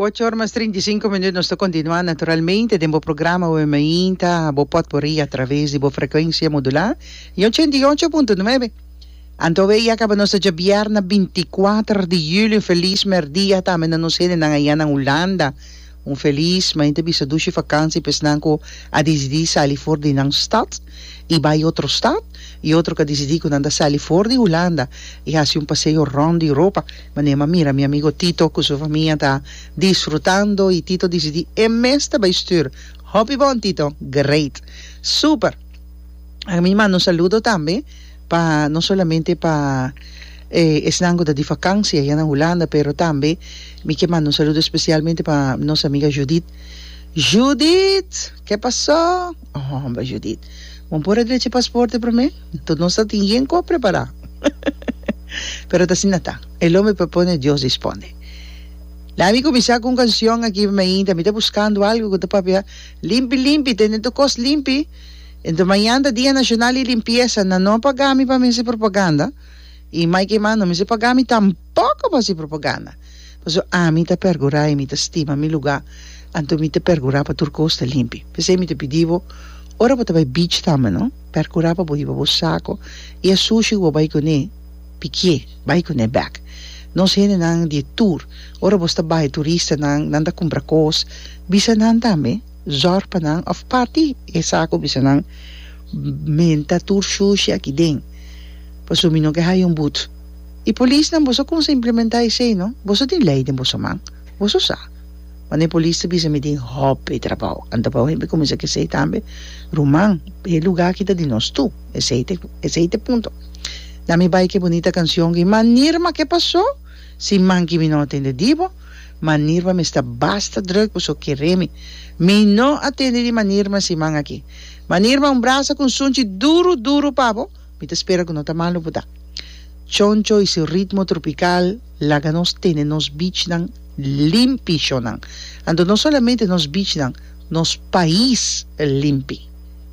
Ocho or mas 35 minuut nos ta continua naturalmente den bo programa Awe Mainta, bo potpourri a traves di bo frecuencia modula y 88.9. Anto awe ya caba nos ta djabièrnè 24 di juli un feliz merdia tambe na nos hendenan aya na Hulanda. Un felis mainta bisa dushi vakansi pa esnan ku a disidí sali for di nan stat i bai otro stat i otro ku a disidí ku nan ta sali for di Hulanda i hasi un paseo rònt di Europa. Manera mi a mira mi amigo Tito ku su famia ta disfrutando i Tito disidí e mes ta bai stür. Hopi bon Tito! Great! Super! Mi manda un saludo tambe. pa no solamente pa esnan ku ta di vakansia ya na Hulanda pero tambe mi ke manda un saludo espesialmente pa nos amiga Judith. Judith! Ke pasó? Homber Judith, bo por a drecha e pasporte promé? Anto nos ta tin yen kos prepará. Pero ta asina ta, el hombre propone, Dios dispone. Laga mi kuminsá ku un kanshon aki mainta, mi ta buskando algu ku ta papia limpi limpi, tene tur kos limpi. Enton mañan ta Dia Nacional di Limpieza, nan no a paga mi pa mi haci propaganda, y Mike Eman no mester paga mi tampoco pa haci propaganda, pasobra ami ta percura y mi ta stima mi lugar, anto mi ta percura pa tur cos ta limpi. P'esey mi ta pidi bo, ora bo ta bay beach tambe no, percura pa bo hiba bo saco y e sushi cu bo bay cune, pikie, bay cune bek. Nos hendenan di e tour, ora bo sta bay, turistanan, nan ta cumpra cos, bisa nan tambe. Zòrg pa nan òf parti e saku bisa nan menta tur shushi aki den pasobra mi no ke haya un but. I polisnan boso a kumsa implementá esei no? Boso tin lei den boso man, boso sa. Wanneer polis ta bisa mi tin hopi trabou, anto pa hende kuminsá ke esei tambe, ruman, e lugá aki ta di nos tur, esei ta esei ta e punto. Na mi bai ke bunita kanshon ki, Ma Nirma ke pasó? Si manki mi no a tende di bo. Manirma mi sta basta druk paso kere mi. Mi no a tende di Manirma siman aki. Manirma un brasa ku un sunchi duru duru pa bo, mi ta spera ku no ta malu bo ta. Choncho y su ritmo tropical laga nos tene nos beachnan limpi shonnan. Anto no solamente nos beachnan, nos pais limpi.